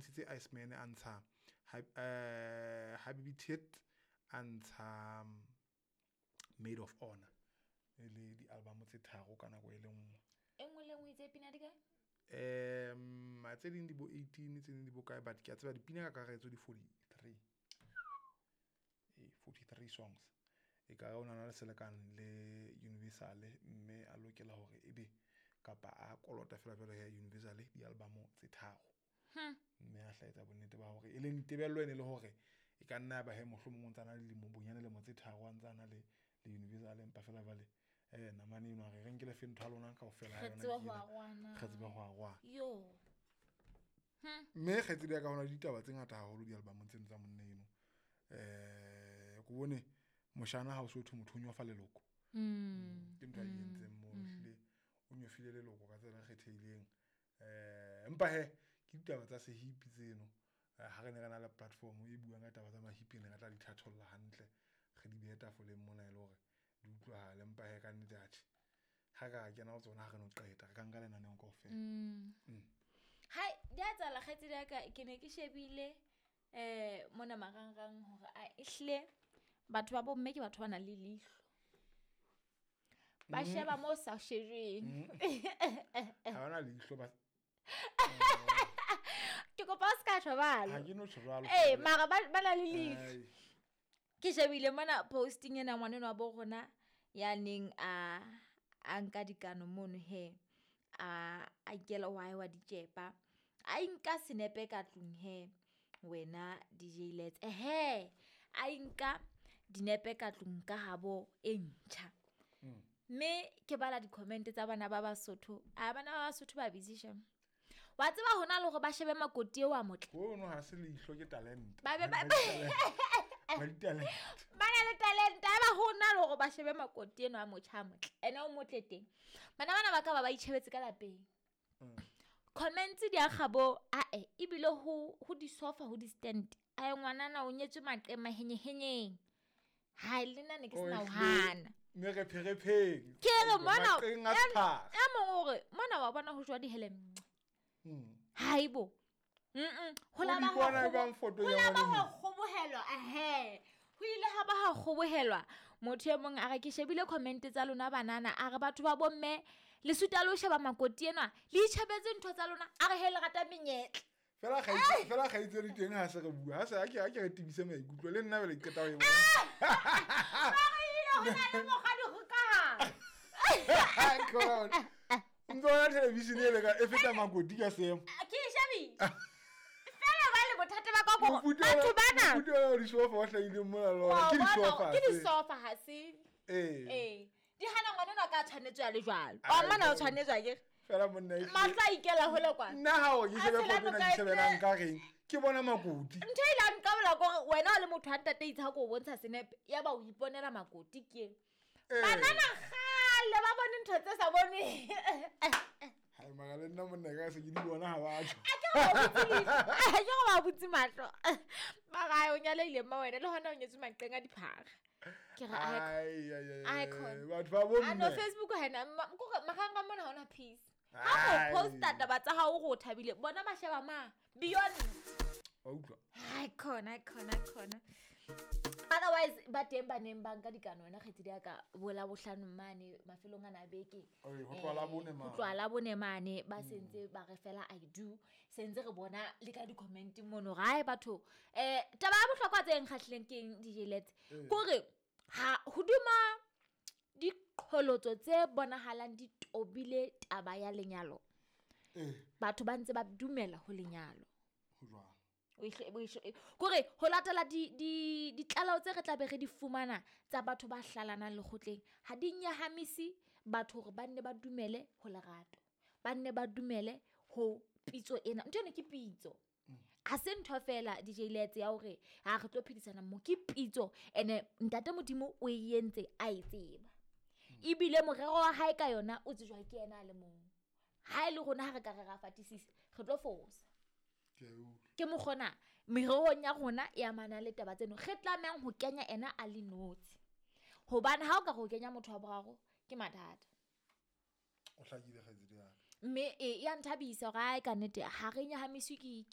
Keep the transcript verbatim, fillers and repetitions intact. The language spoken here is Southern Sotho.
ntshitse Iceman, a ntsha eh Habibi Tit, a ntsha Made of Honor, e le di-album tse tharo ka nako e le nngwe. E nngwe le nngwe itse pina di kae? Um tse ding di bo eighteen, tse ding di bo kae, but ke a tseba dipina ka kakaretso di forty-three. Eh, forty-three songs. E ka o na le selekane le Universal, mme a lokela hore ebe kapa a kolota fela jwalo ya Universal di-album tse tharo. Mme a hlaetsa bonnete ba hore e leng tebello ene le hore e ka nna ba he mohlomong o ntsa na le dilemo bonyane lemo tse tharo a ntsa na le le Universal, empa fela jwale eh namane eno re re nkele fe ntho ya lona kaofela ha Re yona tsebe ke ho ena. arohana. Re tsebe ho arohana. Yo. Mme kgaitsedi ya ka hona le ditaba tse ngata haholo di-album tseno tsa monna eno. Eh ko bone moshana ha o so thwe motho o nyofa leloko. Mm. Ke ntho a e entseng mono, ehlile o nyofile leloko ka tsela e kgethehileng. Eh empa he ke ditaba tsa sehipi tseno. Eh, ha re ne re na le platform e buang ka taba tsa mahipi, ne re tla di thatholla hantle, re di behe tafoleng mona e le hore di utlwahale. Empa he ka nnete atjhe, ha ka kena ho tsona ha re no qeta, re ka nka lenaneo kaofela. Mm. Hai, di a tsala kgaitsedi ya ka, ke ne ke shebile eh mona marangrang hore a ehlile batho ba bomme ke batho ba nang le leihlo. Ba sheba mo sa shejweng. Ha bana leihlo ba Ke kopa o ska tjho jwalo. Ha ke no tjho jwalo. Eh, mara ba ba na le leihlo. Ai. Ke shebile mona posting ena ngwaneno wa bo rona ya neng a a nka dikano mono he, a a ikela wa wa ditjepa. A inka senepe ka tlung he wena D J Lets. Ehe, a inka dinepe ka tlung ka habo e ntjha. Mm. Mme ke bala di-comment tsa bana ba Basotho. A bana ba Basotho ba busy shem. Wa tseba hona le hore ba shebe makoti eo a motle. Hono ha se leihlo ke talent. Ba be ba Ba di talent. Ba na le talent, ha ba hona le hore ba shebe makoti eno a motjha a motle. Ene o motle teng. Bana bana ba ka ba ba itjhebetse ka lapeng. Mm. Comments di a kgabo, ae, ebile ho ho di sofa, ho di stand. Ae ngwanana o nyetswe maqema henyehenyeng. Ha le nna ne ke sena ho hana. Mme re pherepheng. Ke re mona, Maqeng a e- sephara. e mong o re, mona wa bona ho jwa dihele. Mm. Haibo. Mm-mm. Ho la O ba di ha bona kgobo- jwang photo ho ya la ba ngwana ha kgobohelwa, ehe. Ho ile ha ba ha kgobohelwa. Motho e mong a re ke shebile comment tsa lona banana, a re batho ba bomme le suta le ho sheba makoti enwa, le itjhebetse ntho tsa lona, a re he le rata menyetla. Fela kgaitse, fela kgaitse di teng ha se re bua. Ha se ha ke ha ke re tibise maikutlo le nna bele ke qeta ho e bona. Ba re ile ho na le mokgwa di hokahana. Khona. Ntho ya television e le ka e feta makoti ka seemo. Ke e shebile. Fela ba le bothata ba ka gore Mofuta wa- batho bana. mofuta wa disofa wa hlahileng mona le ona. Wa Ke bona, disofa ke tse. disofa ha se. Ee. Ee. Di hana ngwana enwa ka tshwanetswe a le jwalo. Ai, Wa mmona o ai. tshwanetswe akere? Fela monna e Mahlo a ikela hole kwana. Nna ha o ke A shebe tshela foto ena, noka ke e shebe na tse- nka reng? Ke bona makoti. Ntho e ile nka bola kore wena o le motho wa ntate itse ha ke o bontsha senepe, ya ba o iponela makoti ke eng. Ee. Banana kgale ba bone ntho tse sa bonweng. Hai, mara le nna monna ka se ke di bona ha ba tjho. A ke re ba butse leihlo. A ke re ba butse mahlo. Mara ai, o nyalehile mma wena, le hona o nyetswe maqeng a diphara. Ke re, ai, Ai, ai, ai, ai, Icon. batho ba bomme. Ah, no, Facebook ha ena, ma-, kore marangrang mona ha hona peace. Ha o Ai. posta taba tsa hao o re o thabile, bona ba sheba ma beyond. Wa utlwa? Icon, icon, icon. Otherwise ba teng ba neng ba nka dikano wena kgaitsedi ya ka bo la bohlano mane mafelong ana a beke. Oi, ho tloha la bone mane. Ho tloha la bone mane ba sentse ba re fela I do. Sentse re bona le ka di-comment mono hore hae batho. Eh, taba ya bohlokwa tse nkgahlileng ke eng, D J Lets? Eh. Kore ha hoduma diqholotso tse bonahalang di tobile taba ya lenyalo. Eh. Batho ba ntse ba dumela ho lenyalo. Ho jwang? O ihle, o ihle, kore ho latela di, di, ditlaleho tse re tla be re di fumana tsa batho ba hlalanang lekgotleng, ha di nyahamise batho hore ba nne ba dumele ho lerato, ba nne ba dumele ho pitso ena. Ntho ena ke pitso. Ha se ntho fela D J Lets ya hore ha re tlo phedisana mmoho, ke pitso. Ene ntate Modimo o e entse a e tseba. Ebile morero wa hae ka yona o tsejwa ke yena a le mong. Ha e le rona ha re ka re ra fatisisa, re tlo fosa. Ke a utlwa. Ke mokgona mererong ya rona e amana le taba tseno re tlamehang ho kenya ena a le notshi. Hobane ha o ka re o kenya motho wa boraro ke mathata. O hlakile kgaitsedi ya ka. Mme e ya nthabisa hore hae ka nnete ha re nyahamiswe ke, ke